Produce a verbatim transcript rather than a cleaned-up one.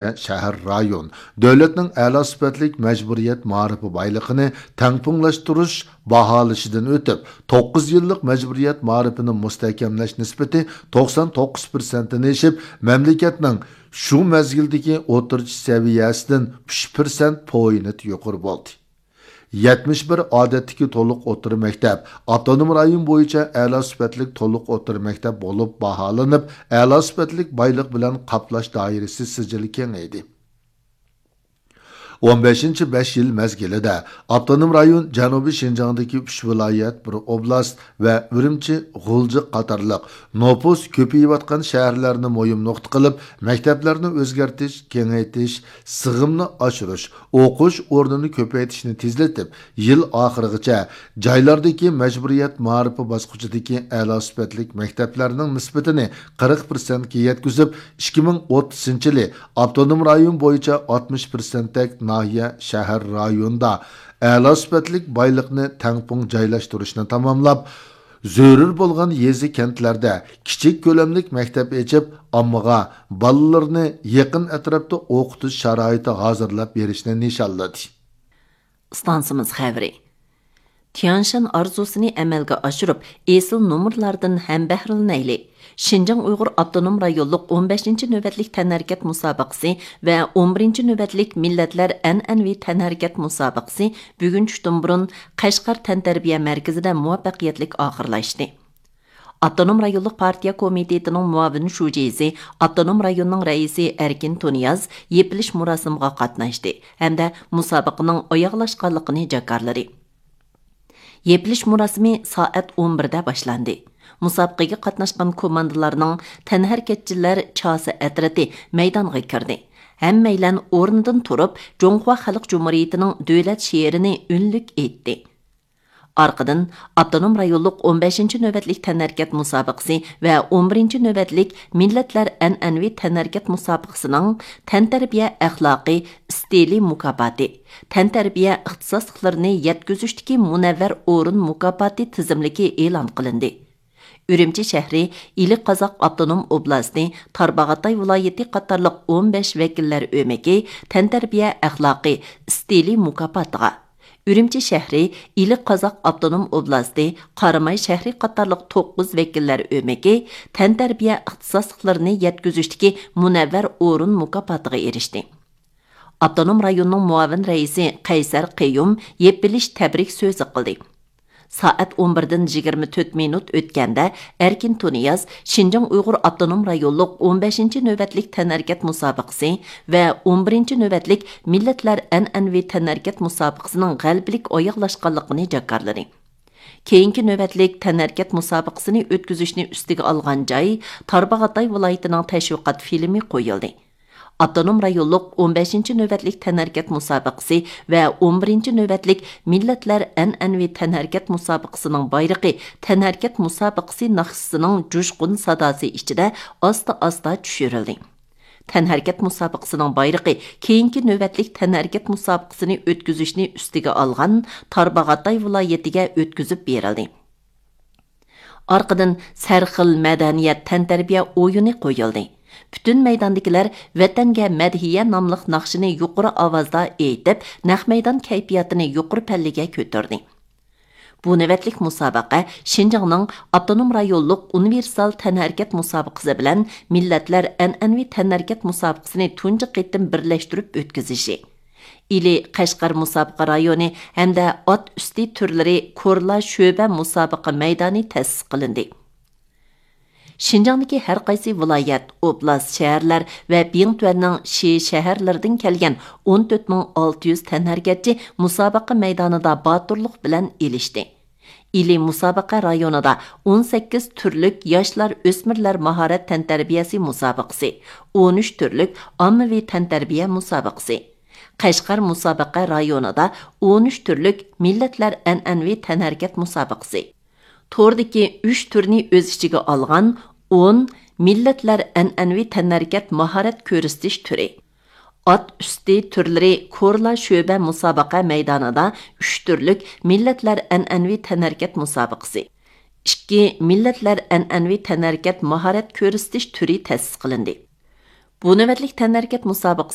شەھەر، رايون دۆلەتنىڭ ئەلا سۈپەتلىك مەجبۇرىيەت مائارىپى بايلىقىنى تەڭپۇڭلاشتۇرۇش باھالىشىدىن ئۆتۈپ، توققۇز يىللىق مەجبۇرىيەت مائارىپىنى مۇستەھكەملەش نىسبىتى توقسان توققۇز پىرسەنتتىن ئېشىپ، مەملىكەتنىڭ شۇ مەزگىلدىكى ئوتتۇرىچە سەۋىيەسىدىن ئۈچ پىرسەنت پوينت يۇقىرى بولدى. يەتمىش بىر ئادەتتىكى تولۇق ئوتتۇرا مەكتەپ ئاپتونوم رايون بويىچە ئەلا سۈپەتلىك تولۇق ئوتتۇرا مەكتەپ بولۇپ باھالىنىپ، ئەلا سۈپەتلىك بايلىق بىلەن قاپلاش دائىرىسى سىجىلى كېڭەيدى. ئون بەشىنچى بەش يىل مەزگىلىدە ئاپتونوم رايون جەنۇبىي شىنجاڭدىكى ئۈچ ۋىلايەت، بىر ئوبلاست ۋە ئۈرۈمچى، غۇلجا قاتارلىق نوپۇس كۆپىيىۋاتقان شەھەرلەرنى مۇھىم نۇقتا قىلىپ، مەكتەپلەرنى ئۆزگەرتىش، كېڭەيتىش، سىغىمنى ئاشۇرۇش، ئوقۇش ئورنىنى كۆپەيتىشنى تېزلىتىپ، يىل ئاخىرىغىچە جايلاردىكى مەجبۇرىيەت مائارىپى باسقۇچىدىكى ئەلا سۈپەتلىك مەكتەپلەرنىڭ نىسبىتىنى قىرىق پىرسەنتكە يەتكۈزۈپ، ئىككى مىڭ ئوتتۇزىنچى يىلى ئاپتونوم رايون بويىچە ئاتمىش پىرسەنتتەك ناھىيە، شەھەر، رايوندا ئەلا سۈپەتلىك بايلىقنى تەڭپۇڭ جايلاشتۇرۇشنى تاماملاپ، زۆرۈر بولغان يېزا، كەنتلەردە كىچىك كۆلەملىك مەكتەپ ئېچىپ، ئاممىغا بالىلىرىنى يېقىن ئەتراپتا ئوقۇتۇش شارائىتى ھازىرلاپ بېرىشنى نىشانلىدى. ئىستانسىمىز خەۋىرى. تيانشان ئارزۇسىنى ئەمەلگە ئاشۇرۇپ، ئېسىل نومۇرلاردىن ھەمبەھرىلىنەيلى! شىنجاڭ ئۇيغۇر ئاپتونوم رايونلۇق ئون بەشىنچى نۆۋەتلىك تەنھەرىكەت مۇسابىقىسى ۋە ئون بىرىنچى نۆۋەتلىك مىللەتلەر ئەنئەنىۋى تەنھەرىكەت مۇسابىقىسى بۈگۈن چۈشتىن بۇرۇن قەشقەر تەنتەربىيە مەركىزىدە مۇۋەپپەقىيەتلىك ئاخىرلاشتى. ئاپتونوم رايونلۇق پارتىيە كومىتېتىنىڭ مۇئاۋىن شۇجىسى، ئاپتونوم رايوننىڭ رەئىسى ئەركىن تۇنىياز يېپىلىش مۇراسىمىغا قاتناشتى ھەمدە مۇسابىقىنىڭ ئاياغلاشقانلىقىنى جاكارلىدى. يېپىلىش مۇراسىمى سائەت ئون بىردە باشلاندى. مۇسابىقىگە قاتناشقان كوماندىلارنىڭ تەنھەرىكەتچىلەر چاسا ئەترىتى مەيدانغا كىردى. ھەممەيلەن ئورنىدىن تۇرۇپ، جۇڭخۇا خەلق جۇمھۇرىيىتىنىڭ دۆلەت شېئىرىنى ئۈنلۈك ئېيتتى. ئارقىدىن ئاپتونوم رايونلۇق ئون بەشىنچى نۆۋەتلىك تەنھەرىكەت مۇسابىقىسى ۋە ئون بىرىنچى نۆۋەتلىك مىللەتلەر ئەنئەنىۋى تەنھەرىكەت مۇسابىقىسىنىڭ تەنتەربىيە ئەخلاقى ئىستىلى مۇكاپاتى، تەنتەربىيە ئىختىساسلىقلىرىنى يەتكۈزۈشتىكى مۇنەۋۋەر ئورۇن مۇكاپاتى تىزىملىكى ئېلان قىلىندى. ئۈرۈمچى شەھىرى، ئىلى قازاق ئاپتونوم ئوبلاستى، تارباغاتاي ۋىلايىتى قاتارلىق ئون بەش ۋەكىللەر ئۆمىكى تەنتەربىيە ئەخلاقى ئىستىلى مۇكاپاتىغا، ئۈرۈمچى شەھىرى، ئىلى قازاق ئاپتونوم ئوبلاستى، قاراماي شەھىرى قاتارلىق توققۇز ۋەكىللەر ئۆمىكى تەنتەربىيە ئىختىساسلىقلىرىنى يەتكۈزۈشتىكى مۇنەۋۋەر ئورۇن مۇكاپاتىغا ئېرىشتى. ئاپتونوم رايوننىڭ مۇئاۋىن رەئىسى قەيسەر قېيۇم يېپىلىش تەبرىك سۆزى قىلدى. سائەت ئون بىردىن يىگىرمە تۆت مىنۇت ئۆتكەندە، ئەركىن تۇنىياز شىنجاڭ ئۇيغۇر ئاپتونوم رايونلۇق ئون بەشىنچى نۆۋەتلىك تەنھەرىكەت مۇسابىقىسى ۋە ئون بىرىنچى نۆۋەتلىك مىللەتلەر ئەنئەنىۋى تەنھەرىكەت مۇسابىقىسىنىڭ غەلىبىلىك ئاياغلاشقانلىقىنى جاكارلىدى. كېيىنكى نۆۋەتلىك تەنھەرىكەت مۇسابىقىسىنى ئۆتكۈزۈشنى ئۈستىگە ئالغان جاي تارباغاتاي ۋىلايىتىنىڭ تەشۋىقات فىلىمى قويۇلدى. ئاپتونوم رايونلۇق ئون بەشىنچى نۆۋەتلىك تەنھەرىكەت مۇسابىقىسى ۋە ئون بىرىنچى نۆۋەتلىك مىللەتلەر ئەنئەنىۋى تەنھەرىكەت مۇسابىقىسىنىڭ بايرىقى تەنھەرىكەت مۇسابىقىسى ناخشىسىنىڭ جۇشقۇن ساداسى ئىچىدە ئاستا-ئاستا چۈشۈرۈلدى. تەنھەرىكەت مۇسابىقىسىنىڭ بايرىقى كېيىنكى نۆۋەتلىك تەنھەرىكەت مۇسابىقىسىنى ئۆتكۈزۈشنى ئۈستىگە ئالغان تارباغاتاي ۋىلايىتىگە ئۆتكۈزۈپ بېرىلدى. ئارقىدىن سەرخىل مەدەنىيەت تەنتەربىيە ئويۇنى قويۇلدى. پۈتۈن مەيداندىكىلەر ۋەتەنگە مەدھىيە ناملىق ناخشىنى يۇقىرى ئاۋازدا ئېيتىپ، نەق مەيدان كەيپىياتىنى يۇقىرى پەللىگە كۆتۈردى. بۇ نۆۋەتلىك مۇسابىقە شىنجاڭنىڭ ئاپتونوم رايونلۇق ئۇنىۋېرسال تەنھەرىكەت مۇسابىقىسى بىلەن مىللەتلەر ئەنئەنىۋى تەنھەرىكەت مۇسابىقىسىنى تۇنجى قېتىم بىرلەشتۈرۈپ ئۆتكۈزۈشى، ئىلى قەشقەر مۇسابىقە رايونى ھەمدە ئات ئۈستى تۈرلىرى كورلا شۆبە مۇسابىقە مەيدانى تەسىس قىلىندى. شىنجاڭدىكى ھەر قايسى ۋىلايەت، ئوبلاست، شەھەرلەر ۋە بىڭتۈەننىڭ شى شەھەرلىرىدىن كەلگەن ئون تۆت مىڭ ئالتە يۈز تەنھەرىكەتچى مۇسابىقە مەيدانىدا باتۇرلۇق بىلەن ئېلىشتى. ئىلى مۇسابىقە رايونىدا ئون سەككىز تۈرلۈك ياشلار، ئۆسمۈرلەر ماھارەت تەنتەربىيەسى مۇسابىقىسى، ئون ئۈچ تۈرلۈك ئاممىۋى تەنتەربىيە مۇسابىقىسى، قەشقەر مۇسابىقە رايونىدا ئون ئۈچ تۈرلۈك مىللەتلەر ئەنئەنىۋى تەنھەرىكەت مۇسابىقىسى، توردىكى ئۈچ تۈرنى ئۆز ئىچىگە ئالغان ئون مىللەتلەر ئەنئەنىۋى تەنھەرىكەت ماھارەت كۆرسىتىش تۈرى، ئات ئۈستى تۈرلىرى كورلا شۆبە مۇسابىقە مەيدانىدا ئۈچ تۈرلۈك مىللەتلەر ئەنئەنىۋى تەنھەرىكەت مۇسابىقىسى، ئىككى مىللەتلەر ئەنئەنىۋى تەنھەرىكەت ماھارەت كۆرسىتىش تۈرى تەسىس قىلىندى. بۇ نۆۋەتلىك تەنھەرىكەت مۇسابىقىسى